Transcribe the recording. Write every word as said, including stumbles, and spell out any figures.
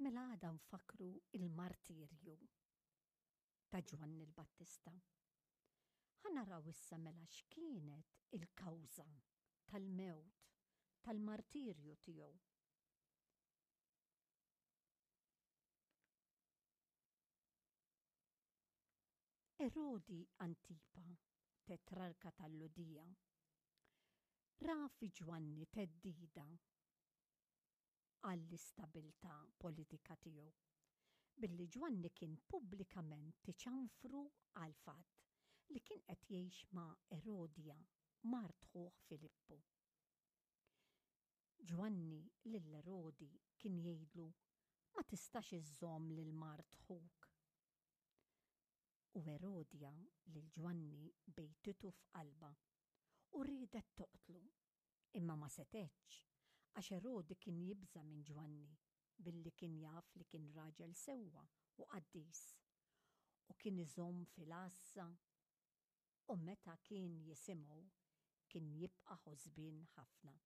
Mela għada nfakkru il-martirju ta' Ġwanni l-Battista. Ħa naraw issa mela x'kienet il-kawża tal-mewt tal-martirju tiegħu. Erodi Antipa, tetrarka tal-Lhudija, ra fi Ġwanni theddida għall-istabilità politika tiegħu, billi Ġwanni kien pubblikament iċanfru għall-fatt li kien qed jgħix ma' Erodja, mart ħuh Filippu. Ġwanni lil Erodi kien jgħidlu, Ma tistax iżżomm lil mart ħuk. U Erodja lil Ġwanni bejtitu f'qalbha u riedet toqtlu, imma ma setgħetx, għax Erodi kien jibża' minn Ġwanni, billi kien jaf li kien raġel sewwa u qaddis, u kien iżomm fil-għassa, u meta kien jisimgħu kien jibqa' ħosbien ħafna.